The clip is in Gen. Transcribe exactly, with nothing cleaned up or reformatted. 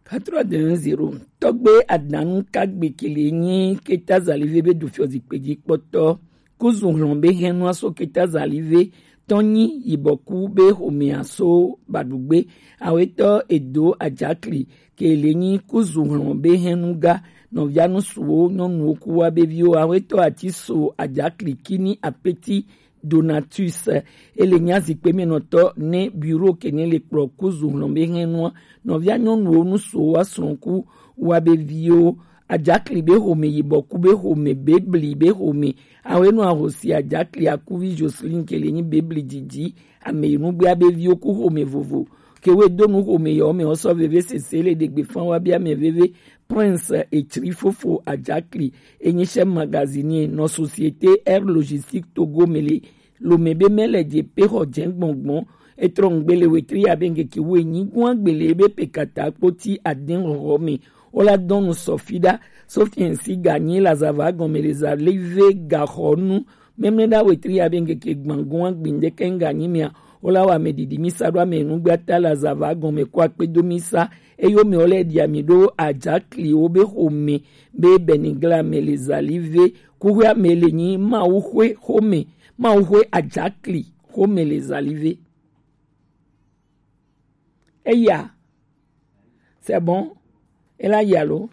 Quatre-vingt-un zéro. Tɔgbe Adanu Kagbe kele nyi Keta Zalive be du fiɔ zikpe ji kpɔtɔ. Kuzu hlɔn be hɛn nua so Keta Zalive tɔn nyi yibɔku be homea so badugbe. Awetɔ Edo Ajakli kele nyi Kuzu hlɔn be hɛn nu ga nɔvia nu suwo nyɔnuwo ku wa be viwo. Awetɔ ati so Ajakli kini apeti Donatus, ele nya zikpe mɛ nɔtɔ ne bureau kene le kplɔ Kuzu hlɔn be hɛn nua nɔvia nyɔnuwo nu so wa srɔ̃ku wa be viwo. Ajakli be home yibɔku be home bebli be home. Awenu ahosi Ajakli akuvi Jocelyn kele nyi bebli didi ame yi nugbe abe viwo ku home vovo. Ke we do nu home yɔ me ɔsɔ veve sese le degbe fan wa bia me veve. Prince Etsri fofo Ajakli enyi chef magazinier nɔ Société Air Logistique Togo mele lome be mele je pe xɔ jɛ gbɔngbɔn. Etrɔ ŋgbe le wetri abe ŋgeke wo enyi gua gbele be pe kata kpoti aden xɔxɔ me. Wola dɔnu sɔfi ɖa. Sofiɛn si ganyi la zava gɔme le Zalive gaxɔnu. Mɛmlɛ ɖa wetri abe ŋgeke gbangua gbindeke ŋganyi mea. Wola wa me didi misa ɖo ame nugbe ata la zava gɔme ko akpedo misa. Eyo me wole dia mi ɖo Ajakli wo be xome be Benigla me le Zalive. Kuxwe ame le nyi Mawuxwe xome, Mawuxwe Ajakli xome le Zalive. Eya, c'est bon. Ela ya lo.